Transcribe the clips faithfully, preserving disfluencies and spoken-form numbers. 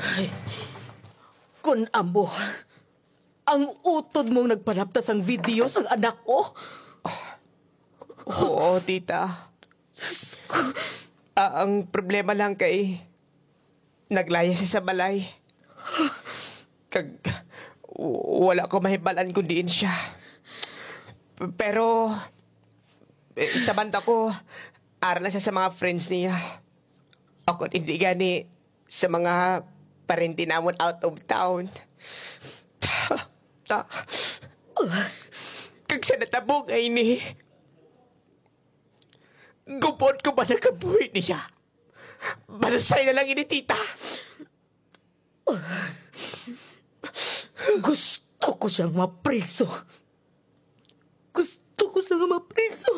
Ay, kun amo ang utod mong nagpalapta sang video sang anak ko. Oo, tita. Ah, ang problema lang kay naglaya siya sa balay. Kag w- wala ko mahibal-an kung diin siya. P- Pero eh, sa banda ko, ara lang siya sa mga friends niya. Ako hindi gani sa mga parente namon out of town. Ta, ta, kag sa natabo nga ini, gubot ko ba nakabuhi niya? Banusay na lang ini, tita. Gusto ko siyang mapriso. Gusto ko siyang mapriso.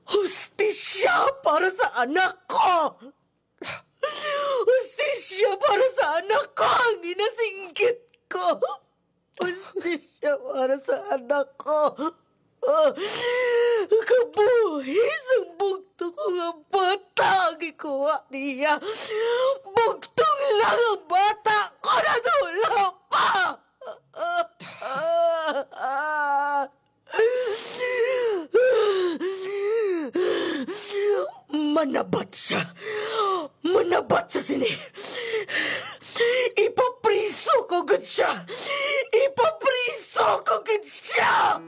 Hustisya para sa anak ko! Hustisya para sa anak ko ang ginasinggit ko! Hustisya para sa anak ko! Ah, kabuhi sang bugto ko nga bata ang gikuha niya. Bugtong lang ang bata ko na wala pa! Manabat siya! Manabat siya sini! Ipapriso ko gud siya! Ipapriso ko gud siya!